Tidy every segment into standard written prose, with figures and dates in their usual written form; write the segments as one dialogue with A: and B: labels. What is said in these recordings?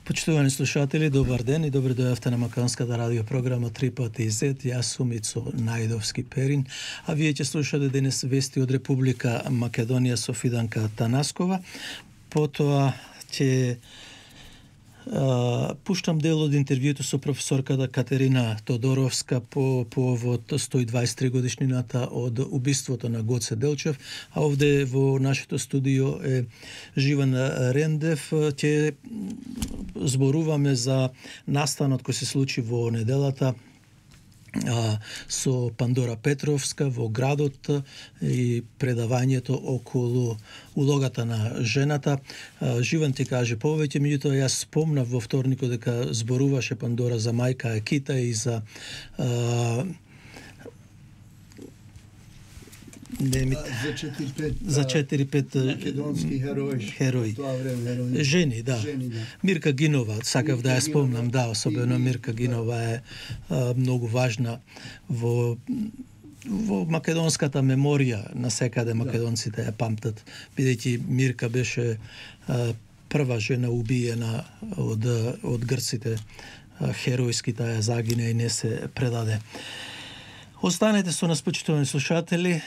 A: Почитувани слушатели, добар ден и добре дојавте на македонската радио програма 3 пати Z. Јас сум Ицо Најдовски Перин, а вие ќе слушате денес вести од Република Македонија со Фиданка Танаскова. Потоа ќе пуштам дел од интервјуто со професорката Катерина Тодоровска по повод 123 годишнината од убиството на Гоце Делчев, а овде во нашето студио е Живан Рендев. Ќе зборуваме за настанот кој се случи во неделата со Пандора Петровска во градот и предавањето околу улогата на жената. Живан ти каже повеќе, меѓутоа јас спомнав во вторникот дека зборуваше Пандора за мајка Екита и за за 4-5
B: македонски
A: херои. Жени, да. Мирка Гинова, сакав да ја спомнам, да, особено Мирка Гинова е многу важна во македонската меморија, на секаде македонците ја памтат, бидејќи Мирка беше прва жена убиена од грците, херојски таа загине и не се предаде. Останете со нас, почитувани слушатели.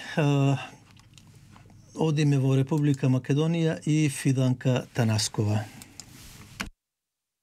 A: Одиме во Република Македонија и Фиданка Танаскова.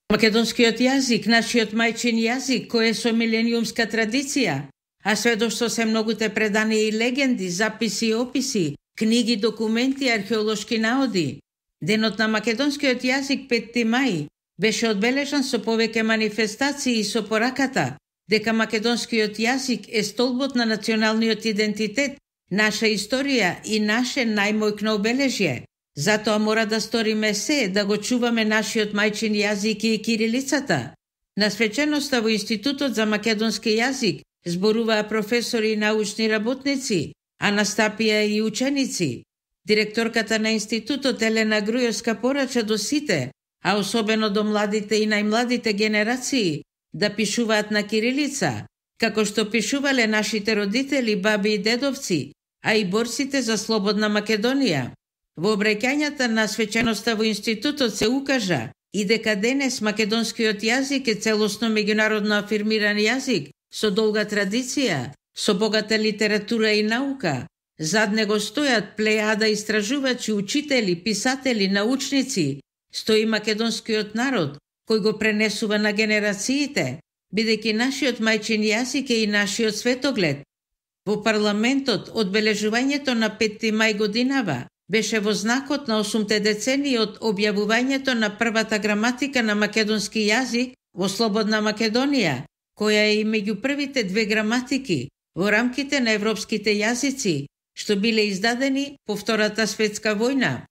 C: Македонскиот јазик, нашиот мајчин јазик, кој е со милениумска традиција, а сведоштво се многуте предани и легенди, записи и описи, книги, документи, археолошки наоди. Денот на македонскиот јазик 5 мај беше одбележан со повеќе манифестации и со пораката дека македонскиот јазик е столбот на националниот идентитет, наша историја и наше најмојкно обележје. Затоа мора да сториме се да го чуваме нашиот мајчин јазик и кирилицата. На свеченоста во Институтот за македонски јазик зборуваа професори и научни работници, а настапија и ученици. Директорката на Институтот Елена Грујовска порача до сите, а особено до младите и најмладите генерации, да пишуваат на кирилица, како што пишувале нашите родители, баби и дедовци, а и борците за слободна Македонија. Во обраќањата на свеченоста во Институтот се укажа и дека денес македонскиот јазик е целосно меѓународно афирмиран јазик со долга традиција, со богата литература и наука. Зад него стојат плејада истражувачи, учители, писатели, научници. Стои македонскиот народ, кој го пренесува на генерациите, бидејќи нашиот мајчин јазик е и нашиот светоглед. Во парламентот, одбележувањето на 5 мај годинава беше во знакот на 8 децении од објавувањето на првата граматика на македонски јазик во слободна Македонија, која е и меѓу првите 2 граматики во рамките на европските јазици, што биле издадени по Втората светска војна.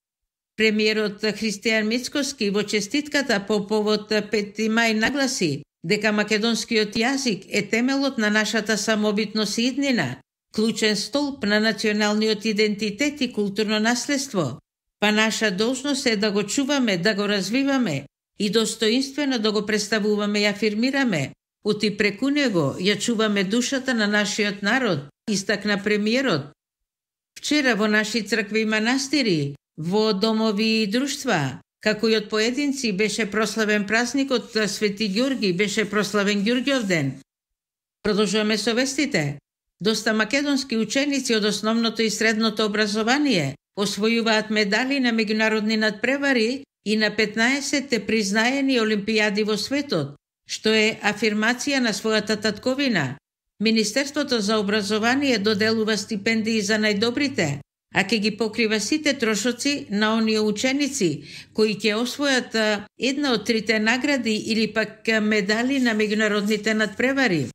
C: Премиерот Христијан Мицкоски во честитката по повод 5 мај нагласи дека македонскиот јазик е темелот на нашата самобитност и иднина, клучен столб на националниот идентитет и културно наследство. Па наша должност е да го чуваме, да го развиваме и достоинствено да го представуваме и афирмираме. Оти преку него ја чуваме душата на нашиот народ, истакна премиерот. Вчера во наши цркви и манастири, во домови и друштва, како и од поединци, беше прославен празникот Свети Ѓорги, беше прославен Ѓурѓовден. Продолжуваме со вестите. Доста македонски ученици од основното и средното образование освојуваат медали на меѓународни надпревари и на 15 признаени олимпијади во светот, што е афирмација на својата татковина. Министерството за образование доделува стипендии за најдобрите, а ќе ги покрива сите трошоци на оние ученици кои ќе освојат една од 3 награди или пак медали на меѓународните надпревари.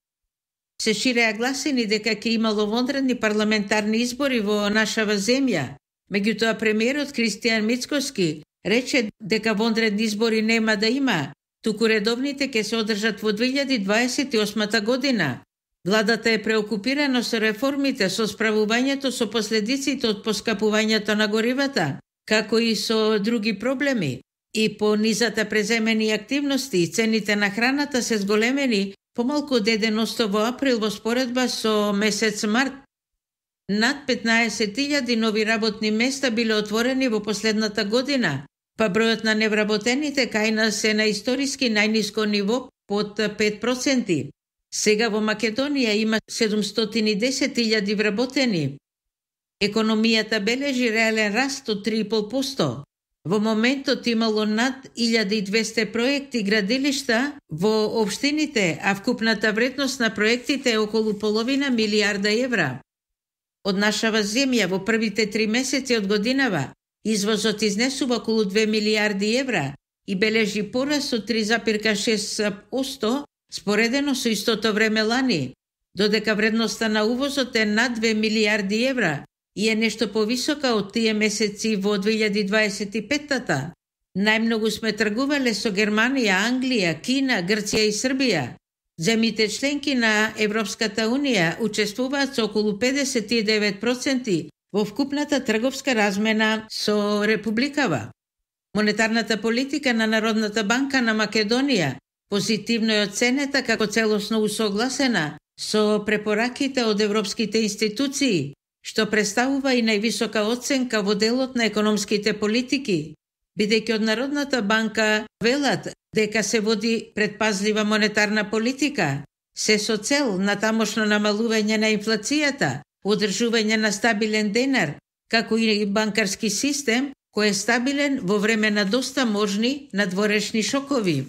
C: Се ширеа гласини дека ќе имало вонредни парламентарни избори во нашава земја. Меѓутоа премиерот Христијан Мицкоски рече дека вонредни избори нема да има, туку редовните ќе се одржат во 2028 година. Владата е преокупирана со реформите, со справувањето со последиците од поскапувањето на горивата, како и со други проблеми. И по низата преземени активности и цените на храната се зголемени помалку од 1% во април во споредба со месец март. Над 15.000 нови работни места биле отворени во последната година, па бројот на невработените кај нас е на историски најниско ниво под 5%. Сега во Македонија има 710.000 вработени. Економијата бележи реален раст од 3,5%. Во моментот имало над 1200 проекти градилишта во општините, а вкупната вредност на проектите е околу половина милијарда евра. Од нашава земја во првите 3 месеци од годинава извозот изнесува околу 2 милијарди евра и бележи пораст од 3,6% споредено со истото време лани, додека вредноста на увозот е над 2 милијарди евра и е нешто повисока од тие месеци во 2025-та. Најмногу сме тргувале со Германија, Англија, Кина, Грција и Србија. Земјите членки на Европската Унија учествуваат со околу 59% во вкупната трговска размена со Републикава. Монетарната политика на Народната банка на Македонија позитивно е оценета како целосно усогласена со препораките од европските институции, што представува и највисока оценка во делот на економските политики, бидејќи од Народната банка велат дека се води предпазлива монетарна политика, се со цел на тамошно намалување на инфлацијата, одржување на стабилен денар, како и банкарски систем кој е стабилен во време на доста можни надворешни шокови.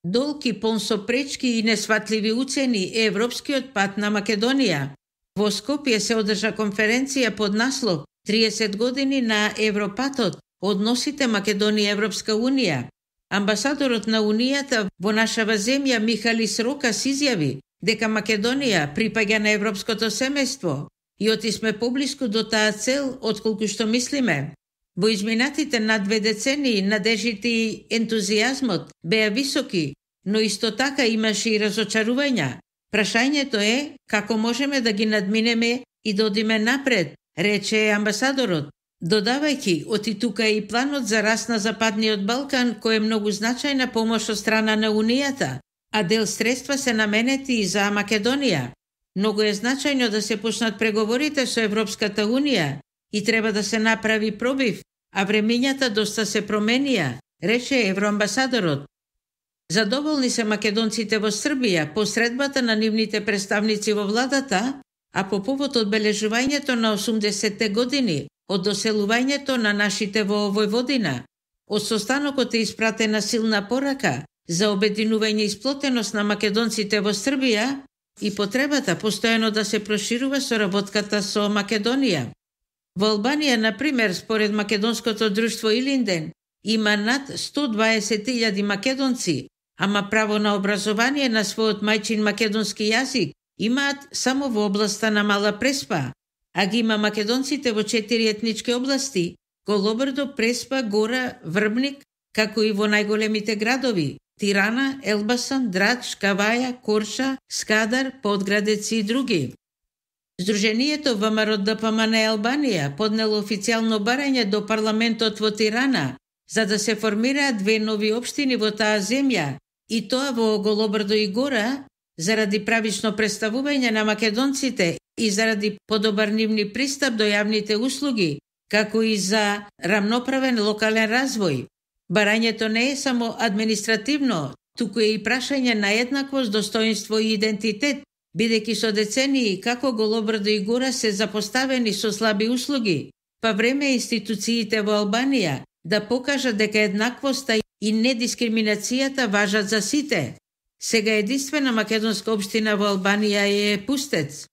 C: Долг и пон со пречки и несватливи уцени е европскиот пат на Македонија. Во Скопје се одржа конференција под наслов 30 години на Европатот, односите Македонија Европска Унија. Амбасадорот на Унијата во нашава земја Михалис Рокас изјави дека Македонија припаѓа на европското семејство и оти сме поблиску до таа цел отколку што мислиме. Во изминатите над 2 децении надежите и ентузијазмот беа високи, но исто така имаше и разочарувања. Прашањето е како можеме да ги надминеме и да одиме напред, рече амбасадорот, додавајќи оти тука и планот за раст на Западниот Балкан, кој е многу значајна помош од страна на Унијата, а дел средства се наменети и за Македонија. Многу е значајно да се почнат преговорите со Европската Унија и треба да се направи пробив, а времењата доста се променија, рече евроамбасадорот. Задоволни се македонците во Србија по средбата на нивните представници во владата, а по повод одбележувањето на 80-те години од доселувањето на нашите во Војводина. Од состанокот е испратена силна порака за обединување и сплотеност на македонците во Србија и потребата постојано да се проширува соработката со Македонија. Во Албанија, например, според македонското друштво Илинден, има над 120.000 македонци, ама право на образование на својот мајчин македонски јазик имаат само во областа на Мала Преспа, а ги има македонците во 4 етнички области – Голобрдо, Преспа, Гора, Врбник, како и во најголемите градови – Тирана, Елбасан, Драч, Каваја, Корша, Скадар, Подградец и други. Сдруженијето ВМРО ДПМН Албанија поднело официјално барање до парламентот во Тирана за да се формираат 2 нови општини во таа земја, и тоа во Голобрдо и Гора, заради правично представување на македонците и заради подобар нивни пристап до јавните услуги, како и за рамноправен локален развој. Барањето не е само административно, туку е и прашање на еднаквост, достоинство и идентитет, бидејќи со децении како Голобрдо и Гора се запоставени со слаби услуги, па време институциите во Албанија да покажат дека еднаквоста и недискриминацијата важат за сите. Сега единствена македонска општина во Албанија е Пустец.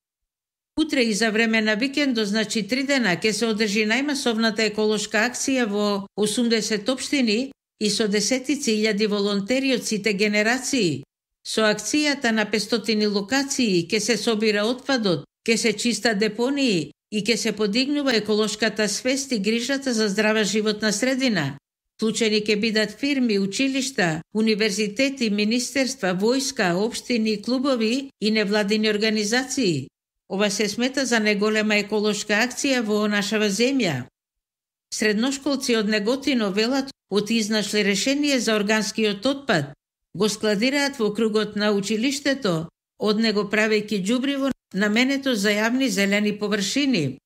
C: Утре и за време на викендо, значи 3 дена, ќе се одржи најмасовната еколошка акција во 80 општини и со десетици илјади волонтери од сите генерации. Со акцијата на 500 локации ќе се собира отпадот, ќе се чиста депонии и ќе се подигнува еколошката свест и грижата за здрава животна средина. Вклучени ќе бидат фирми, училишта, универзитети, министерства, војска, општини, клубови и невладини организации. Ова се смета за најголема еколошка акција во нашава земја. Средношколци од Неготино велат оти изнашле решение за органскиот отпад. Го складираат во кругот на училиштето, од него правејќи џубриво наменето за јавни зелени површини.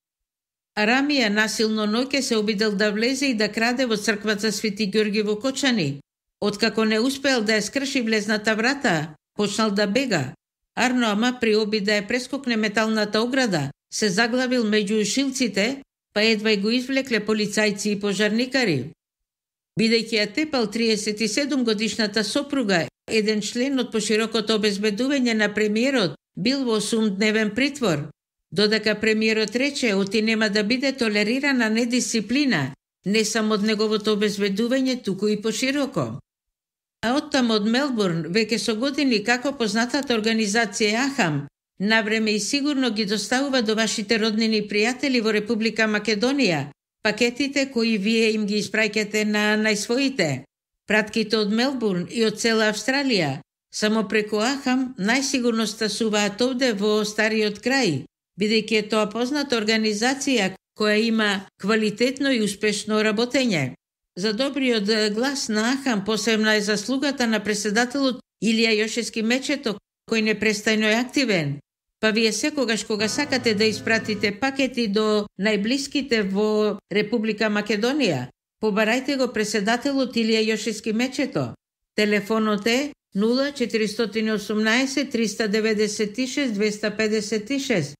C: Арамија насилно ноќе се обидел да влезе и да краде во црквата Свети Ѓорги во Кочани. Откако не успеал да ја скрши влезната врата, почнал да бега. Арно Ама при обид да ја прескокне металната ограда, се заглавил меѓу шилците, па едва и го извлекле полицајци и пожарникари. Бидејќи ја тепал 37 годишната сопруга, еден член од поширокото обезбедување на премиерот бил во 8-дневен притвор, додека премиерот рече оти нема да биде толерирана недисциплина, не само од неговото обезбедување, туку и пошироко. А оттам од Мелбурн, веќе со години како познатата организација Ахам, навреме и сигурно ги доставува до вашите роднини и пријатели во Република Македонија пакетите кои вие им ги испраќате на најсвоите. Пратките од Мелбурн и од цела Австралија, само преку Ахам, најсигурно стасуваат овде во стариот крај, бидејќи е тоа позната организација која има квалитетно и успешно работење. За добриот глас на Ахам посебна е заслугата на преседателот Илија Јошевски Мечето, кој непрестајно е активен. Па вие секогаш кога сакате да испратите пакети до најблиските во Република Македонија, побарајте го преседателот Илија Јошевски Мечето. Телефонот е 0418 396 256.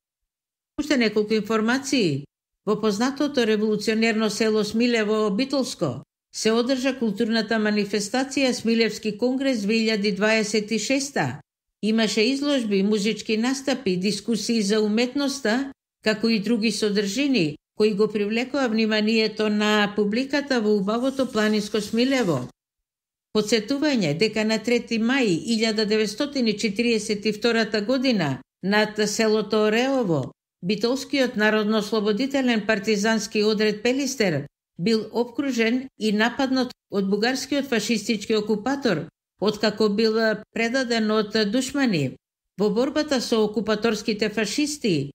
C: Уште неколку информации. Во познатото револуционерно село Смилево, Битолско, се одржа културната манифестација Смилевски конгрес 2026. Имаше изложби, музички настапи, дискусии за уметноста, како и други содржини, кои го привлекоа вниманието на публиката во убавото планинско Смилево. Подсетување дека на 3 мај 1942 година над селото Ореово, Битолскиот народно-ослободителен партизански одред Пелистер бил обкружен и нападнат од бугарскиот фашистички окупатор, откако бил предаден од душмани. Во борбата со окупаторските фашисти,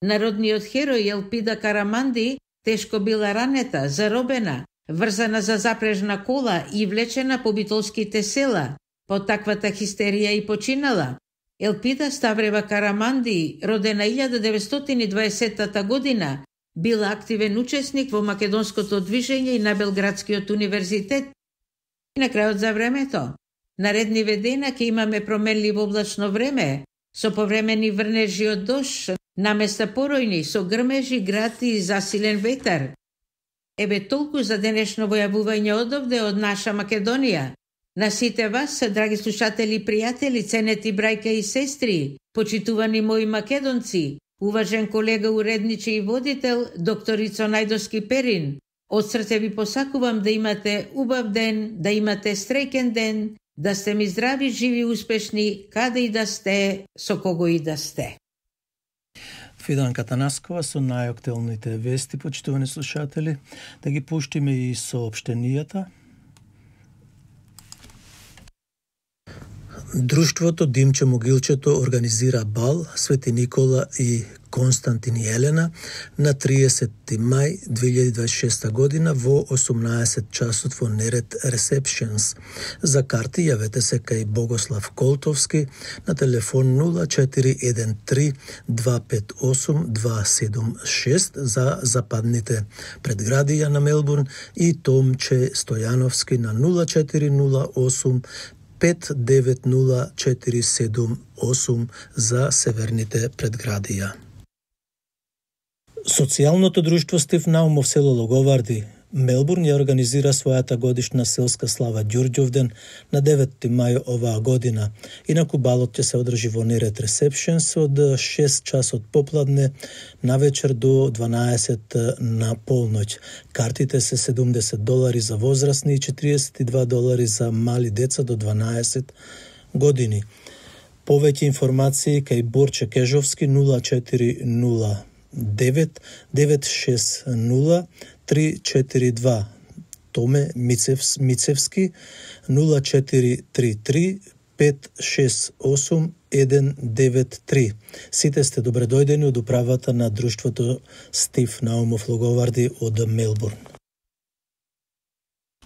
C: народниот херој Елпида Караманди тешко била ранета, заробена, врзана за запрежна кола и влечена по битолските села. По таквата хистерија и починала. Елпида Ставрева Караманди, родена 1920 година, била активен учесник во македонското движење и на Белградскиот универзитет. И на крајот за времето. Наредниве дена ќе имаме променливо облачно време, со повремени врнежи од дожд, наместа поројни, со грмежи, град и засилен ветар. Еве толку за денешно војавување одовде од наша Македонија. На сите вас, драги слушатели и пријатели, ценети брајка и сестри, почитувани мои македонци, уважен колега уредничи и водител, доктор Ицо Најдовски Перин, од срце ви посакувам да имате убав ден, да имате среќен ден, да сте ми здрави, живи, успешни, каде и да сте, со кого и да сте.
A: Фиданка Танаскова со најактуелните вести, почитувани слушатели, да ги пуштиме и соопштенијата. Друштвото Димче Могилчето организира бал Свети Никола и Константин и Елена на 30 мај 2026 година во 18 часот во Неред Receptions. За карти јавете се кај Богослав Колтовски на телефон 0413 258 276 за западните предградија на Мелбурн и Томче Стојановски на 0408 590478 за северните предградија. Социјалното друштво Стив Наумов село Логоварди, Мелбурн ја организира својата годишна селска слава Ѓурѓовден на 9 мај оваа година. Инаку балот ќе се одржи во Неред Receptions од 6 часот попладне навечер до 12 на полноќ. Картите се $70 за возрастни и $42 за мали деца до 12 години. Повеќе информации кај Борче Кежовски 0409 960 342, Томе Мицевски 0433 568 193. Сите сте добре дојдени од управата на друштвото Стив Наумов Логоварди од Мелбурн.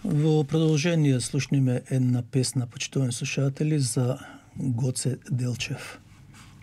A: Во продолжение слушниме една песна, почитувани слушатели, за Гоце Делчев.